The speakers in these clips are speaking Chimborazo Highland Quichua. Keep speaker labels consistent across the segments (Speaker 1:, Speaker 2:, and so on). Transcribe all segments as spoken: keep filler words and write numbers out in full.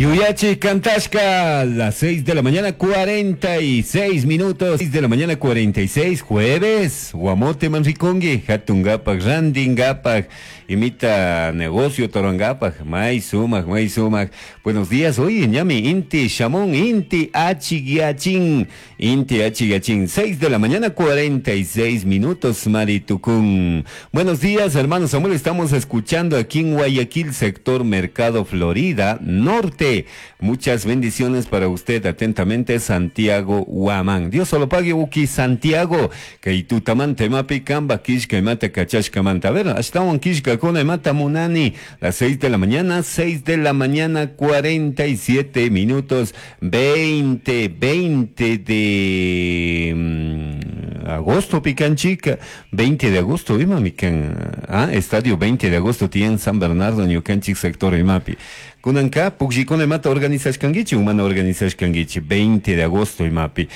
Speaker 1: Yuyachi Cantashka, las seis de la mañana cuarenta y seis minutos, seis de la mañana cuarenta y seis, jueves, Guamote Manricongi, Hatungapak, Randingapak, imita negocio Torangapak, May Sumac, May Sumac. Buenos días, hoy ñami Inti Shamón, Inti Achigiachin, Inti Achigiachin, seis de la mañana cuarenta y seis minutos, Maritucún. Buenos días, hermano Samuel, estamos escuchando aquí en Guayaquil, sector Mercado Florida Norte. Muchas bendiciones para usted, atentamente, Santiago Huamán. Dios solo pague, Uki Santiago. Que tutamante mapi kamba kishka mata kachashka manta. A ver, hasta un kishka con mata munani. Las seis de la mañana, seis de la mañana, cuarenta y siete minutos, veinte, veinte de mm, agosto, picanchica, veinte de agosto, imamican, ah, estadio veinte de agosto, tiene San Bernardo, Ñucanchic, sector imapi. Kunanka, pukllикuna imata organizashkankichi, humana organizashkankichi, veinte de agosto imapi.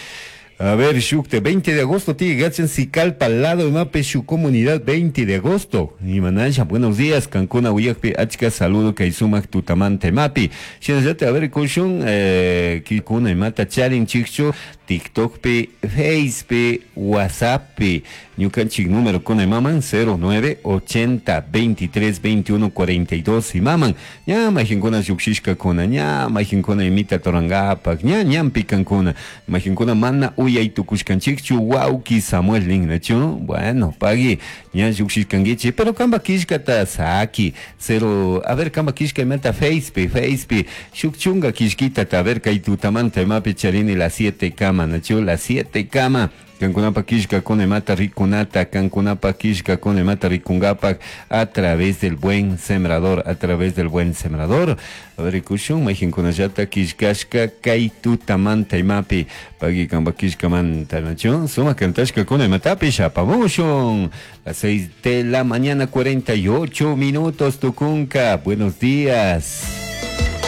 Speaker 1: A ver, shukte, veinte de agosto, tiene gachan Sicalpa al lado imapi, su comunidad, veinte de agosto. Imanasha, buenos días, Cancuna, Uyakpi, Achka, saludo, Kaisumak, Tutamante, mapi. Shinallate, a ver, kushun, eh, kikuna imata, charin, chikchu, TikTok pi, Face pi, WhatsApp pi. Ñukanchik número kuna imaman, cero nueve, ochenta, veintitrés, veintiuno, cuarenta y dos, imaman. Ña, majinkuna yukshishka kuna, ña, majinkuna imita torangapak, ña, ñampi kankuna. Majinkuna mana uyay tukushkanchikchu, wauki Samuel Lingnachu. Bueno, pagui, ña yukshishkankichi, pero kamba kishkata saki, cero, a ver, kamba kishka imata Face pi, Face pi, shukchunga kishkita, a ver, kay tutamanta imapi charini las siete kama, nachu, las siete kama. Kankunapa kishka con mata rikunata, kankunapa kishka con mata rikungapak, a través del buen sembrador, a través del buen sembrador. A ver, kushun, majinkunallata kishkashka, kaitutamanta imapi, pagi kamba kishka manta, nachu, suma kantashka con matapi, shapamushun. Las seis de la mañana, cuarenta y ocho minutos, tukunka. Buenos días.